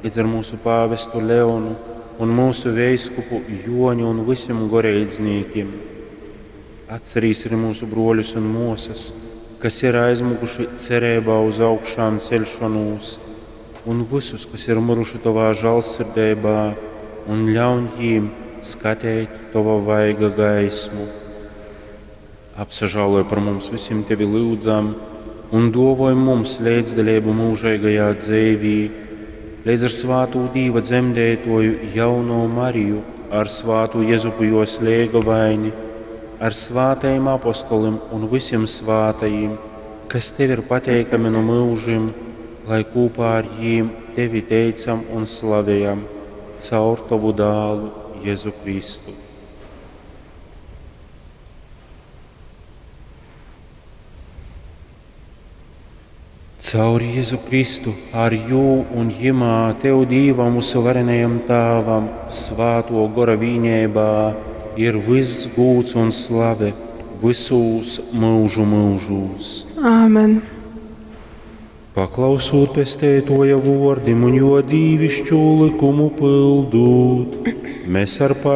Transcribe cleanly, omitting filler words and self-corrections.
Līdz ar mūsu pāvestu Leonu un mūsu veiskupu Joni un visiem goreidznīkim. Atcerīs arī mūsu broļus un mosas, kas ir aizmukuši cerībā uz augšām celšanos, un visus, kas ir miruši tavā žālsirdībā, un ļauj jīm skatīt tava vaiga gaismu. Apsažāloj par mums visiem tevi lūdzam, un dovoj mums līdzdalību mūžīgajā dzīvī, līdz ar svātu Dīva dzemdētoju jauno Mariju, ar svātu Jezupu jos lēgavaini, ar svātajiem apostolim un visiem svātajiem, kas tev ir pateikami no mūžim, lai kopā ar jīm tevi teicam un slavējam caur tavu dālu Jēzu Kristu. Caur Jēzu Kristu, ar jū un jimā Tev Dīvam, mūsu varenajam Tāvam, svāto gora vīņēbā, ir viss gūts un slave visūs mūžu mūžūs. Āmen. Paklausūt pestētoja vordim un jo dīvišķu likumu pildūt, mēs ar pār.